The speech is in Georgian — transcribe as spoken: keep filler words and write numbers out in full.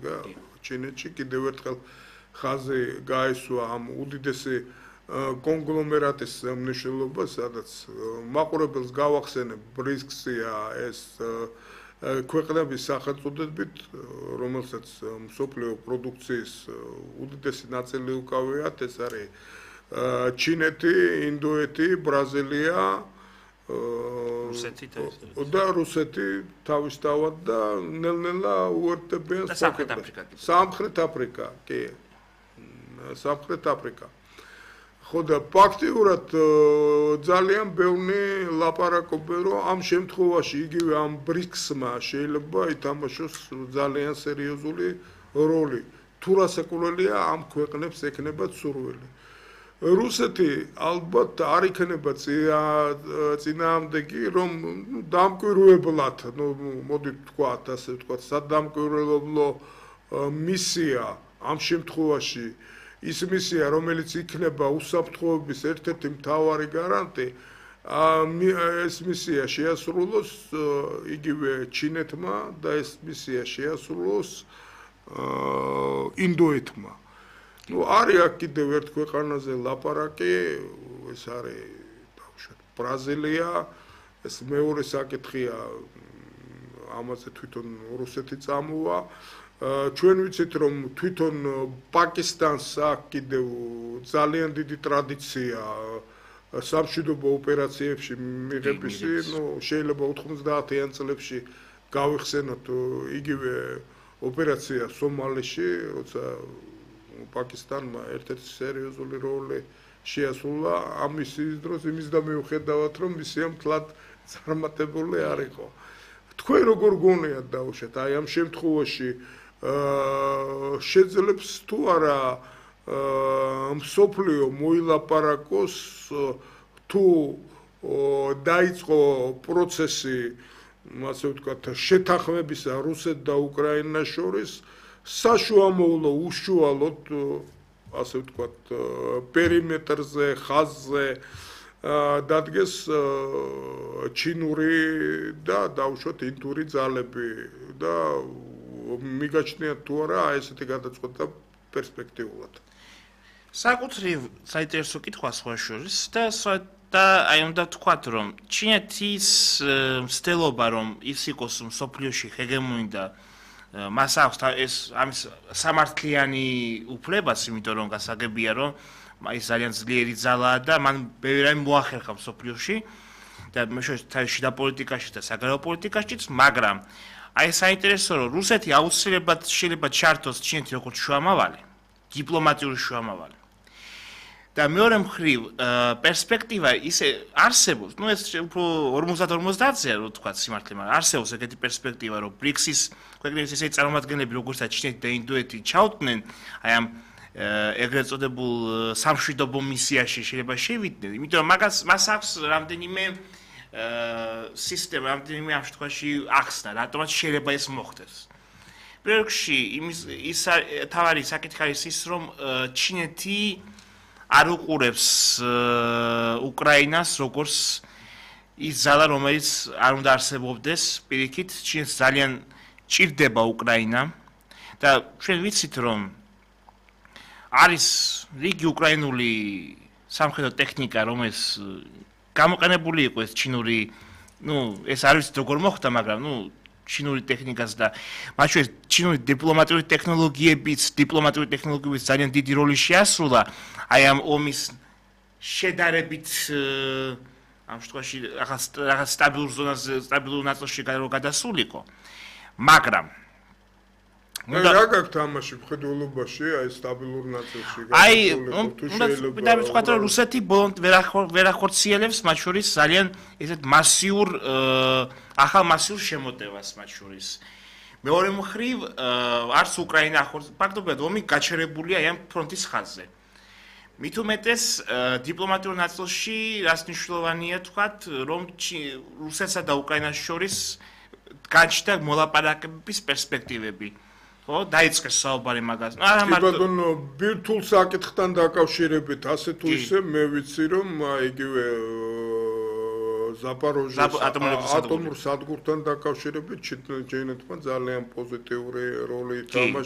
შედგა ჩინეთში კიდევ ერთხელ ხაზი გაესვა ამ უდიდესი კონგლომერატის მნიშვნელობა, სადაც მაყურებელს გავახსენებ ბრიქსია ეს ქვეყნების სახელწოდებით, რომელსაც მსოფლიო პროდუქციის უდიდესი ნაწილი უკავიათ, ეს არის ჩინეთი, ინდოეთი, ბრაზილია, რუსეთი და რუსეთი თავისთავად და ნელ-ნელა უერთდებიან სამხრეთ აფრიკა. სამხრეთ აფრიკა, კი. სამხრეთ აფრიკა. ხო და ფაქტიურად ძალიან ბევრი ლაპარაკობენ, რომ ამ შემთხვევაში იგივე ამ ბრიქსმა შეიძლება ითამაშოს ძალიან სერიოზული როლი. თუ რასაკვირველია ამ ქვეყნებს ექნებათ სურვილი. რუსეთი ალბათ არ იქნება წინააღმდეგი, რომ დამკვირვებლად, ну, მოდით ვთქვათ, ასე ვთქვათ, სადამკვირვებლო მისია ამ შემთხვევაში ის მისია, რომელიც იქნება უსაფრთხოების ერთ-ერთი მთავარი გარანტი, ეს მისია შეასრულოს იგივე ჩინეთმა და ეს მისია შეასრულოს ინდოეთმა. Ну, არის აქ კიდევ ერთ ქვეყანაზე ლაპარაკი, ეს არის ბავშვად ბრაზილია, ეს მეორე საკითხია, ამაზე თვითონ რუსეთი წამოვა. ჩვენ ვიცით, რომ თვითონ პაკისტანს აქვს კიდევ ძალიან დიდი ტრადიცია სამშვიდობო ოპერაციებში მიღებისი, ну, შეიძლება ოთხმოცდაათიან წლებში გავიხსენოთ იგივე ოპერაცია სომალიში, როცა პაკისტანმა ერთ-ერთი სერიოზული როლი შეასრულა ამის დროს იმის და მიუხედავად, რომ მისია მთლად წარმატებული არ იყო. თქვენ როგორ გონიათ დაუშვათ, აი ამ შემთხვევაში შეძლებს თუ არა მსოფლიო მოილაპარაკოს, თუ დაიწყო პროცესი, ასე ვთქვათ, შეთანხმებისა რუსეთ და უკრაინას შორის, საშუალო უშუალოდ, ასე ვთქვათ, პერიმეტრზე, ხაზზე დადგეს ჩინური და დაუშვათ ინდური ძალები და მიგაჩნიათ თუ არა ესეთი გადაწყვეტა პერსპექტიულად. საკუთრივ საინტერესო კითხვა სხვა შორის და და აი უნდა ვთქვათ, რომ ჩინეთის მცდელობა, რომ ის იყოს მსოფლიოში ჰეგემონი და მას აქვს ეს ამის სამართლიანი უფლებაც, იმიტომ რომ გასაგებია, რომ ის ძალიან ძლიერი ძალაა და მან ბევრი რამე მოახერხა მსოფლიოში და მაშინ შიდა პოლიტიკაში და საგარეო პოლიტიკაშიც, მაგრამ აი საინტერესო რომ რუსეთი აუცილებლად შეიძლება ჩართოს ჩინეთი როგორც შუამავალი, დიპლომატიური შუამავალი. და მეორე მხრივ პერსპექტივა ისე არსებობს, ну ეს უფრო ორმოცდაათ ორმოცდაათია რო თქვა სიმართლე, მაგრამ არსებობს ეგეთი პერსპექტივა, რომ ბრიქსის ქვეყნების ესე წარმომადგენლები როგორცაც ჩინეთი და ინდოეთი ჩავდნენ, აი ამ ეგრეთ წოდებულ სამშვიდობო მისიაში შეიძლება შევიდნენ, იმიტომ რომ მაგას მას აქვს რამდენიმე სისტემა, რამდენიმე ამ შემთხვევაში ახსნა, რატომაც შეიძლება ეს მოხდეს. პირველ რიგში იმის ის თავარი საკითხი არის ის, რომ ჩინეთი არ უყურებს უკრაინას როგორც ის ძალა, რომელიც არ უნდა არსებობდეს, პირიქით, ჩინეთს ძალიან ჭირდება უკრაინა და ჩვენ ვიცით, რომ არის რიგი უკრაინული სამხედრო ტექნიკა, რომელიც გამოყენებული იყო ეს ჩინური, ну, ეს არ ვიცით როგორ მოხდა, მაგრამ, ну, ჩინური ტექნიკას და მათ შორის ჩინური დიპლომატიური ტექნოლოგიებიც, დიპლომატიური ტექნოლოგიებიც ძალიან დიდი როლი შეასრულა აი ამ ომის შედარებით ამ შემთხვევაში რაღაც რაღაც სტაბილურ ზონაზე, სტაბილურ ნაწილში გადასულიყო. მაგრამ რა გაქვთ ამაში მხედველობაში, აი სტაბილურ ნაწილში აი, უნდა ვთქვათ, რომ რუსეთი ბოლომდე ვერ ახორციელებს მათ შორის ძალიან ესეთ მასიურ ახალ მასიურ შემოტევას მათ შორის. მეორე მხრივ, არც უკრაინა ახორციელებს, ფაქტობრივად ომი გაჩერებულია აი ამ ფრონტის ხაზზე. მით უმეტეს დიპლომატიურ ნაწილში რას მნიშვნელოვანია თქვათ, რომ რუსეთსა და უკრაინას შორის გაჩნდა მოლაპარაკების პერსპექტივები. ხო, დაიწყეს საუბარი მაგაზე. არა მარტო ბატონო, ბირთულ საკითხთან დაკავშირებით, ასე თუ ისე მე ვიცი, რომ იგივე ზაპოროჟიეს ატომურ სადგურთან დაკავშირებით ჩინეთმა ძალიან პოზიტიური როლი ითამაშა.